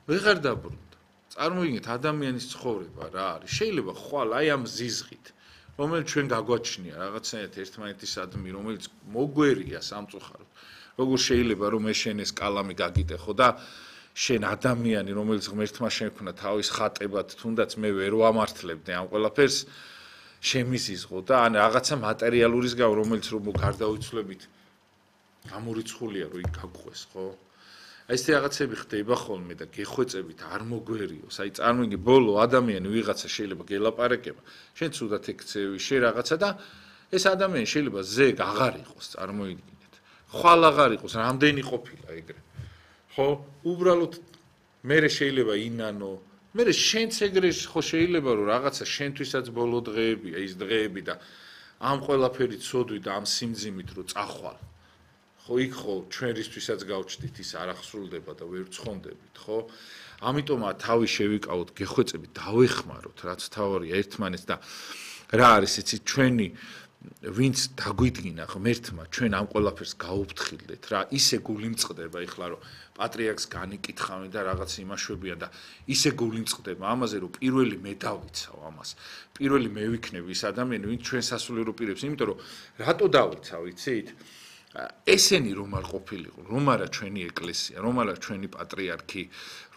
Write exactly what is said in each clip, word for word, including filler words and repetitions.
ვეღარ დაბრუნდა. წარმოიდგინეთ ადამიანის ცხოვრება რა არის. შეიძლება ხვალ აი ამ ზიზღით, რომელიც ჩვენ გაგვაჩნია რაღაცნაირად ერთმანეთისადმი, რომელიც მოგვერია სამწუხაროდ. როგორ შეიძლება რომ მე შენ ეს კალამი გაგიტეხო და შენ ადამიანი, რომელიც ღმერთმა შექმნა თავის ხატებად, თუნდაც მე ვერ ვამართლებდი ამ ყველაფერს, შემიზიზღო და ან რაღაცა მატერიალურის გამო, რომელიც რომ გარდავიცვლებით გამორიცხულია რომ იქ გაგვყვეს, ხო? აი ეს რაღაცები ხდება ხოლმე და გეხვეწებით არ მოგვერიოს. აი წარმოიდგინე ბოლო ადამიანი ვიღაცა შეიძლება გელაპარაკება, შენ ცუდად ექცევი, შენ რაღაცა და ეს ადამიანი შეიძლება ზეგ აღარ იყოს, წარმოიდგინეთ. ხვალ აღარ იყოს, რამდენი ყოფილა ეგრე. ხო, უბრალოდ მე შეიძლება ინანო, მე შენც ეგრე ხო შეიძლება რომ რაღაცა შენთვისაც ბოლო დღეებია ის დღეები და ამ ყველაფერი ცოდვი და ამ სიმძიმით რომ წახვალ. ხო, იქ ხო ჩვენ რისთვისაც გავჩდით ის არ ახსრულდება და ვერ ცხონდებით, ხო? ამიტომაა თავი შევიკავოთ, გეხვეწებით, დავეხმაროთ, რაც თავარია ერთმანეთს და რა არის იცით ჩვენი ვინც დაგვიდგინა ღმერთმა ჩვენ ამ ყველაფერს გაუფრთხილდეთ რა ისე გული მწყდება ეხლა რომ პატრიარქს განიკითხავენ და რაღაც იმაშვებიან და ისე გული მწყდება ამაზე რომ პირველი მე დავიცავ ამას პირველი მე ვიქნები ის ადამიანი ვინც ჩვენ სასულიერო პირებს იმიტომ რომ რატო დავიცავ იცით ესენი რომ არ ყოფილიყო რომ არა ჩვენი ეკლესია რომ არა ჩვენი პატრიარქი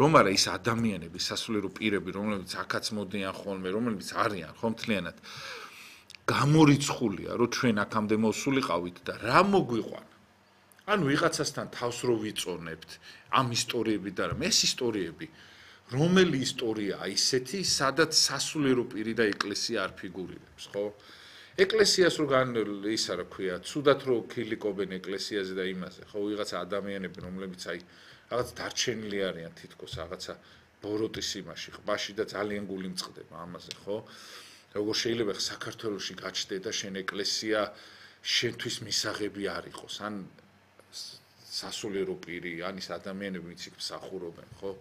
რომ არა ის ადამიანები სასულიერო პირები რომლებიც აქაც მოდიან ხოლმე რომლებიც არიან ხომ მთლიანად გამორიცხულია რომ ჩვენ აქამდე მოსულიყავით და რა მოგვიყვანა ანუ ვიღაცასთან თავს რო ვიწონებთ ამ ისტორიები და რა ეს ისტორიები რომელი ისტორიაა ისეთი სადაც სასულიერო პირი და ეკლესია არ ფიგურირებს ხო ეკლესიას რო გან ისა რა ქვია ცუდად რო ქილიკობენ ეკლესიაზე და იმაზე ხო ვიღაცა ადამიანები რომლებიც აი რაღაც დარჩენილი არიან თითქოს რაღაცა ბოროტის იმაში ყბაში და ძალიან გული მწყდება ამაზე ხო როგორ შეიძლება საქართველოში გაჩნდე და შენ ეკლესია შენთვის მისაღები არ იყოს ან სასულიერო პირი ან ის ადამიანები ვინც იქ მსახურობენ ხო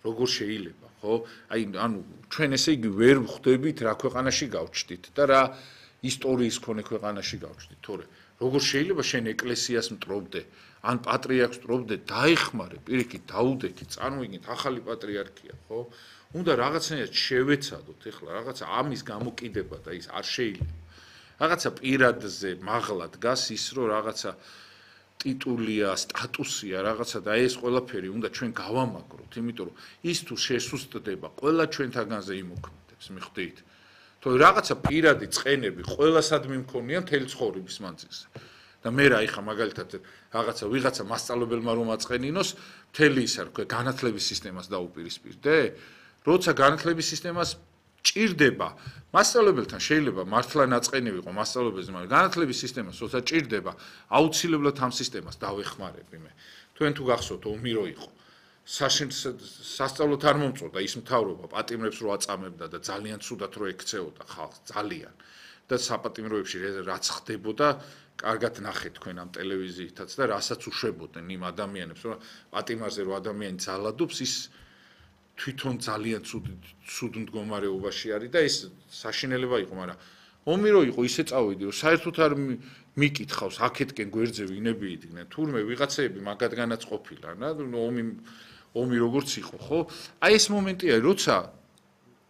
როგორ შეიძლება ხო აი ანუ ჩვენ ესე იგი ვერ ვხვდებით რა ქვეყანაში გავჩდით და რა ისტორიის ქონე ქვეყანაში გავჩდით თორე როგორ შეიძლება შენ ეკლესიას მტრობდე ან პატრიარქს მტრობდე დაეხმარე პირიქით დაუდექი წარმოიდგინეთ ახალი პატრიარქია ხო უნდა რაღაცნაირად შევეცადოთ ეხლა რაღაცა ამის გამოკიდება და ის არ შეიძლება რაღაცა პირადზე მაღლა დგას ის რომ რაღაცა ტიტულია სტატუსია რაღაცა და ეს ყველაფერი უნდა ჩვენ გავამაგროთ იმიტომ რომ ის თუ შესუსტდება ყველა ჩვენთაგანზე იმოქმედებს მიხვდით თუ რაღაცა პირადი წყენები ყველასადმი მქონია მთელი ცხოვრების მანძილზე და მე რა იხა მაგალითად რაღაცა ვიღაცა მასწავლებელმა რომ აწყენინოს მთელი ისა რქვა განათლების სისტემას დაუპირისპირდე როცა განათლების სისტემას ჭირდება მასწავლებელთან შეიძლება მართლა ნაწყენი ვიყო მასწავლებელზე მაგრამ განათლების სისტემას როცა ჭირდება აუცილებლად ამ სისტემას დავეხმარები მე თქვენ თუ გახსოვთ ომი რო იყო სასწავლოთ არ მომწონდა ის მთავრობა პატიმრებს რო აწამებდა და ძალიან ცუდად რო ექცეოდა ხალხს ძალიან და საპატიმროებში რაც ხდებოდა კარგად ნახეთ თქვენ ამ ტელევიზიითაც და რასაც უშვებოდნენ იმ ადამიანებს რომ პატიმარზე რო ადამიანი ძალადობს ის თვითონ ძალიან ცუდ ცუდ მდგომარეობაში არის და ეს საშინელება იყო, მაგრამ ომი რო იყო ისე წავიდი, რომ საერთოდ არ მიკითხავს აქეთკენ გვერდზე ვინები იდგნენ. თურმე ვიღაცები მაგათგანაც ყოფილან, რა, ომი ომი როგორც იყო, ხო? აი ეს მომენტია, როცა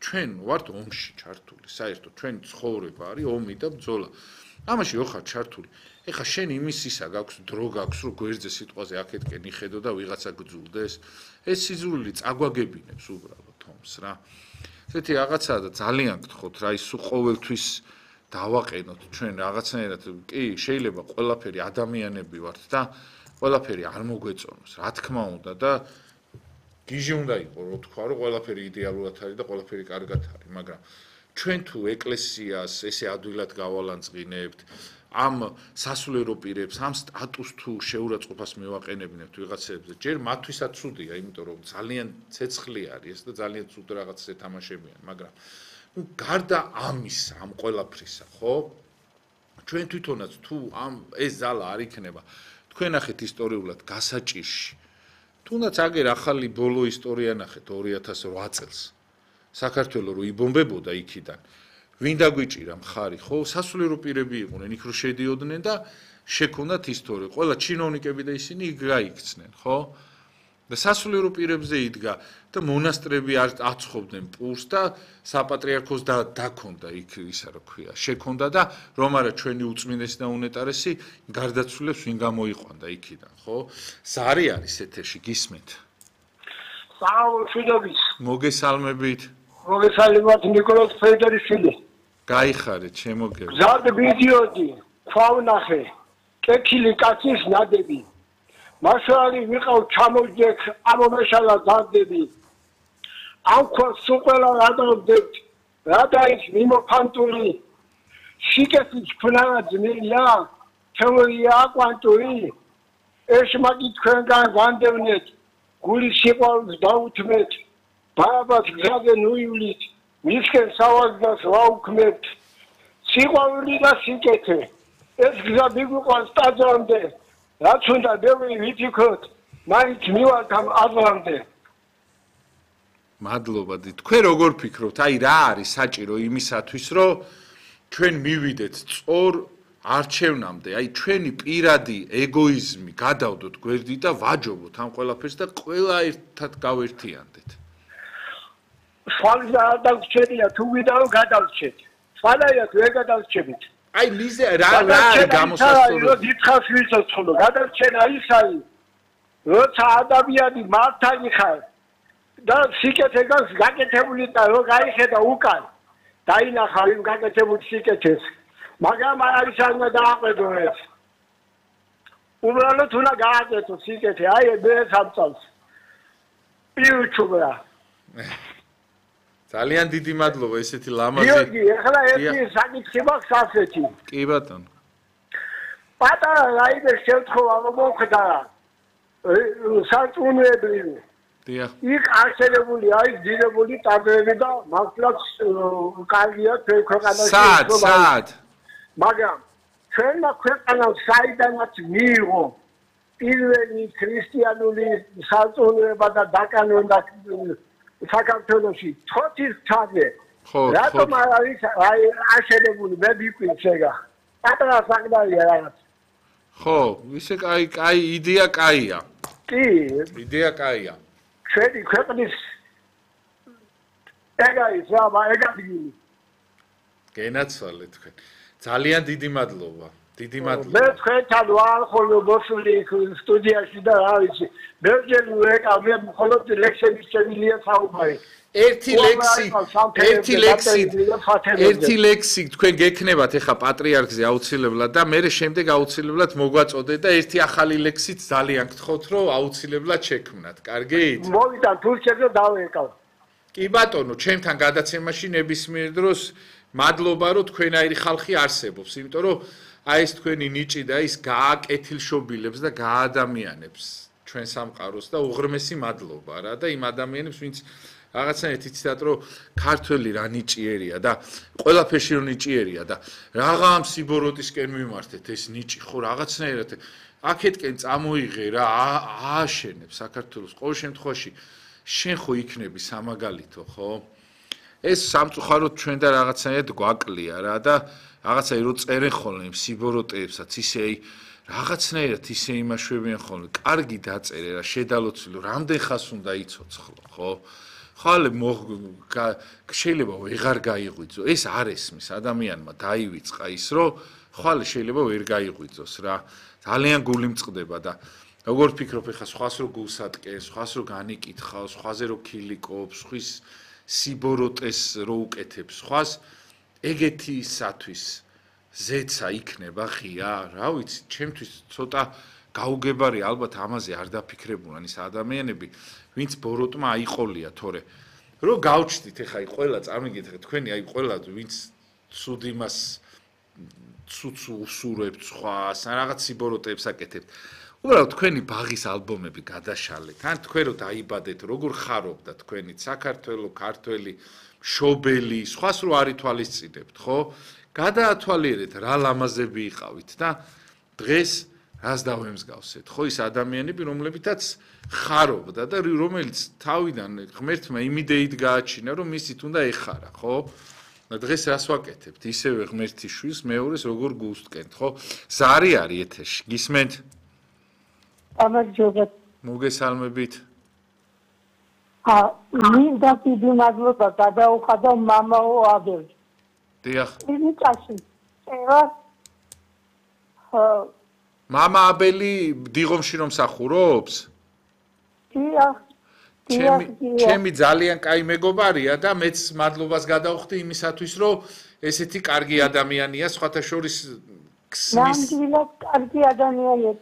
ჩვენ ვართ ომში ჩართული, საერთოდ ჩვენი ცხოვრება არის ომი და ბრძოლა. ამაში რო ხარ ჩართული. ეხა შენ იმის ისა გაქვს, დრო გაქვს, რომ გვერდზე სიტყვაზე აქეთკენ იხედო და ვიღაცა გძულდეს. ეს სიძულვილი წაგვაგებინებს უბრალოდ ომს რა. ესეთი რაღაცაა და ძალიან გთხოვთ რა ის ყოველთვის დავაყენოთ ჩვენ რაღაცნაირად კი შეიძლება ყველაფერი ადამიანები ვართ და ყველაფერი არ მოგვეწონოს რა თქმა უნდა და გიჟი უნდა იყოს რო თქვა რომ ყველაფერი იდეალურად არის და ყველაფერი კარგად არის მაგრამ ჩვენ თუ ეკლესიას ესე ადვილად გავალანძღინებთ ამ სასულიერო პირებს ამ სტატუსს თუ შეურაცხყოფას მევაყენებინებთ ვიღაცებზე ჯერ მათთვისაც ცუდია იმიტომ რომ ძალიან ცეცხლი არის ეს და ძალიან ცუდ რაღაცას ეთამაშებიან მაგრამ ну გარდა ამისა ამ ყველაფრისა ხო ჩვენ თვითონაც თუ ამ ეს ზალა არ იქნება თქვენ ახეთ ისტორიულად გასაჭირში თუნდაც აგერ ახალი ბოლო ისტორია ნახეთ ორი ათას ოთხ წელს საქართველოს რო იბომბებოდა იქიდან ვინ დაგვიჭირა მხარი ხო სასულიერო პირები იყვნენ იქ რო შედიოდნენ და შექონდათ ისტორია ყველა ჩინოვნიკები და ისინი იქ გაიქცნენ ხო და სასულიერო პირებზე იდგა და მონასტრები არ აცხობდნენ პურს და საპატრიარქოს და დაქონდა იქ ისა რა ქვია შექონდა და რომ არა ჩვენი უწმინდესი და უნეტარესი გარდაცვლილებს ვინ გამოიყვანდა იქიდან ხო ზარი არის ეთერში გისმენთ საუბრობთ მოგესალმებით მოგესალმებით ნიკოლოზ ფედერიშვილი გაიხარეთ შემოგევ ზარდ ვიდეოდი ქვავნახე კეთილი კაცის ნადები მასალი ვიყავ ჩამოვიძეთ ამომეშალა ზარდები ამ ქვას უყველა გადავდეთ რადაის მიმოფანტული შიკეთის ქნაა ძნელია თეორია კვანტური ეს მაგი თქვენგან განდევნეთ გული სიყვარულს დაუთმეთ ბაბას გზაზე ნუივლით მისკენ სავაზდას ვაუქმებთ სიყვარული და სიკეთე ეს გზა მიგვიყვანს ტაძრამდე რაც უნდა ბევრი ვითიქოთ მაინც მივალთ ამ აზრამდე მადლობა თქვენ როგორ ფიქრობთ აი რა არის საჭირო იმისათვის რომ ჩვენ მივიდეთ სწორ არჩევნამდე აი ჩვენი პირადი ეგოიზმი გადავდოთ გვერდით და ვაჯობოთ ამ ყველაფერს და ყველა ერთად გავერთიანდეთ სვალია დავჩერია თუ ვიდაო გადავჩეთ სვალია თუ ეგ გადავჩებით აი მიზე რა რა გამოსასწორო რო დიდხანს ვიცოცხლო გადავჩენა ის არის როცა ადამიანი მართალი ხარ და სიკეთეს გაკეთებული და რო გაიხედა უკან დაინახა იმ გაკეთებულ სიკეთეს მაგრამ არის არ უნდა დააყედო ეს უბრალოდ უნდა გააკეთო სიკეთე აი მე სამწავს პიუჩუბრა ძალიან დიდი მადლობა ესეთი ლამაზი გიორგი ახლა ერთი საკითხი მაქვს ასეთი კი ბატონო პატარა რაიმე შემთხვევა მოხდა სარწმუნოებრივი დიახ იქ არსებული არის ძირებული ტაძრები და მართლაც კარგია ჩვენ ქვეყანაში სად სად მაგრამ ჩვენმა ქვეყანამ საიდანაც მიიღო პირველი ქრისტიანული სარწმუნოება და დაკანონდა საქართველოში თოთის თაზე რატომ არ არის აშენებული მე ვიყვით ეგა პატარა საკდარია რაღაც ხო ისე კაი კაი იდეა კაია კი იდეა კაია ჩვენი ქვეყნის ეგა ის რა ეგა დგინი გენაცვალე თქვენ ძალიან დიდი მადლობა დიდი მადლობა მე თქვენთან ვარ ხოლმე მოსული სტუდიაში და რა ვიცი ბევრჯერ ვეკავ მე მხოლოდ ლექსების შემილია საუბარი ერთი ლექსი ერთი ლექსი ერთი ლექსი თქვენ გექნებათ ეხა პატრიარქზე აუცილებლად და მე შემდეგ აუცილებლად მოგვაწოდეთ და ერთი ახალი ლექსით ძალიან გთხოვთ რომ აუცილებლად შექმნათ კარგით მოვიდა თურქეთზე დავეკავ კი ბატონო ჩემთან გადაცემაში ნებისმიერ დროს მადლობა რომ თქვენაირი ხალხი არსებობს იმიტომ რომ აი ეს თქვენი ნიჭი და ის გააკეთილშობილებს და გაადამიანებს ჩვენ სამყაროს და უღრმესი მადლობა რა და იმ ადამიანებს ვინც რაღაცნაირად იცით რომ ქართველი რა ნიჭიერია და ყველაფერში რო ნიჭიერია და რაღა ამ სიბოროტისკენ მიმართეთ ეს ნიჭი ხო რაღაცნაირად აქეთკენ წამოიღე რა ააშენებს საქართველოს ყოველ შემთხვევაში შენ ხო იქნები სამაგალითო ხო ეს სამწუხაროდ ჩვენ და რაღაცნაირად გვაკლია რა და რაღაცა რო წერენ ხოლმე იმ სიბოროტეებსაც ისე აი რაღაცნაირად ისე იმაშვებიან ხოლმე კარგი დაწერე რა შედალოცილო რამდენ ხას უნდა იცოცხლო ხო ხალე შეიძლება ვეღარ გაიღვიძო ეს არ ესმის ადამიანმა დაივიწყა ის რომ ხალე შეიძლება ვერ გაიღვიძოს რა ძალიან გული მწყდება და როგორ ფიქრობ ეხა სხვას რო გულს ატკენს სხვას რო განიკითხავს სხვაზე რო ქილიკობს ხვის სიბოროტეს რო უკეთებს სხვას ეგეთისათვის ზეცა იქნება ღია რა ვიცი ჩემთვის ცოტა გაუგებარი ალბათ ამაზე არ დაფიქრებულან ის ადამიანები ვინც ბოროტმა აიყოლია თორე რო გავჩდით ეხა აი ყველა წარმიგეთ თქვენი აი ყველა ვინც ცუდ იმას ცუცუ უსურებთ სხვას ან რაღაც სიბოროტეებს აკეთებთ უბრალოდ თქვენი ბაღის ალბომები გადაშალეთ ან თქვენ რო დაიბადეთ როგორ ხარობდა თქვენი საქართველო ქართველი შობელი სხვას რო არ ითვალისწინებთ ხო გადაათვალიერეთ რა ლამაზები იყავით და დღეს რას დავემსგავსეთ ხო ის ადამიანები რომლებითაც ხარობდა და რომელიც თავიდან ღმერთმა იმ იდეით გააჩინა რომ მისით უნდა ეხარა ხო და დღეს რას ვაკეთებთ ისევე ღმერთის შვილს მეორეს როგორ გულსტკენთ ხო ზარი არის ეთერში გისმენთ ამაჯობა მოგესალმებით ა მინდა დიდი მადლობა გადაუხადა მამაო აბელს. დიახ. იმიტაში. წერა მამა აბელი დიღომში რომ მსახურობს? დიახ. ჩემი ჩემი ძალიან კაი მეგობარია და მეც მადლობას გადავხდი იმისათვის, რომ ესეთი კარგი ადამიანია, სხვათა შორის ქსნის. ნამდვილად კარგი ადამიანია.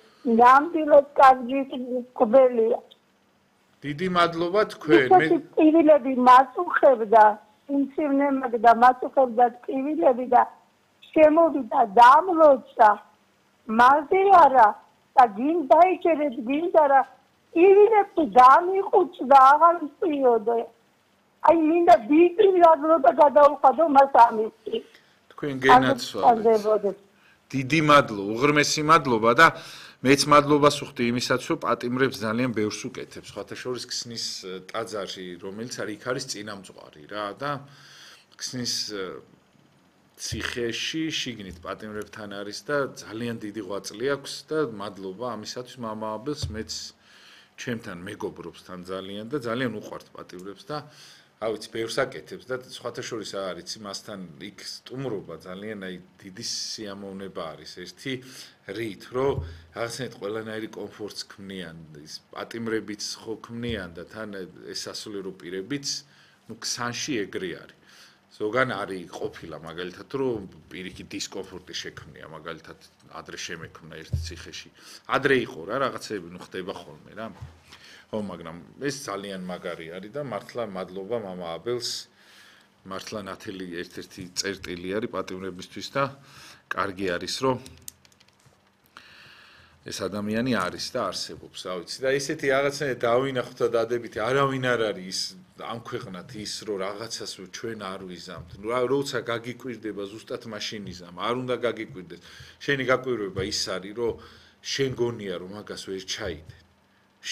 ნამდვილად კარგი კბელია. დიდი მადლობა თქვენ. მე ტკივილები მაწუხებდა, სიმსივნემაგდა მაწუხებდა ტკივილები და შემოვიდა დამლოცა. მალზე არა და გინ დაიჭერეთ გინდა რა ტკივილები დამიყუწდა აღარ ვწიოდე. აი მინდა დიდი მადლობა გადაუხადო მას ამისთვის. თქვენ გენაცვალეთ. დიდი მადლობა, უღრმესი მადლობა და მეც მადლობას ვუხდი იმისაც, რომ პატიმრებს ძალიან ბევრს უკეთებს. სხვათა შორის ქსნის ტაძარი, რომელიც არის იქ არის წინამძღვარი რა და ქსნის ციხეში შიგნით პატიმრებთან არის და ძალიან დიდი ღვაწლი აქვს და მადლობა ამისათვის მამა აბელს მეც ჩემთან მეგობრობს თან ძალიან და ძალიან უყვართ პატიმრებს და რა ვიცი ბევრს აკეთებს და სხვათა შორის არის მასთან იქ სტუმრობა ძალიან აი დიდი სიამოვნება არის ერთი რით რომ რაღაცნაირად ყველანაირი კომფორტს ქმნიან ის პატიმრებიც ხო ქმნიან და თან ეს სასულიერო პირებიც ნუ ქსანში ეგრე არის ზოგან არის ყოფილა მაგალითად რომ პირიქით დისკომფორტი შექმნია მაგალითად ადრე შემექმნა ერთ ციხეში ადრე იყო რა რაღაცები ნუ ხდება ხოლმე რა ო მაგრამ ეს ძალიან მაგარი არის და მართლა მადლობა მამა აბელს მართლა ნათელი ერთ-ერთი წერტილი არის პატიმრებისთვის და კარგი არის რომ ეს ადამიანი არის და არსებობს რა ვიცი და ესეთი რაღაცნაირად დავინახოთ და დადებითი არავინ არ არის ის ამ ქვეყნად ის რომ რაღაცას ჩვენ არ ვიზამთ ნუ როცა გაგიკვირდება ზუსტად მაშინ იზამ არ უნდა გაგიკვირდეს შენი გაკვირვება ის არის რომ შენ გონია რომ მაგას ვერ ჩაიდე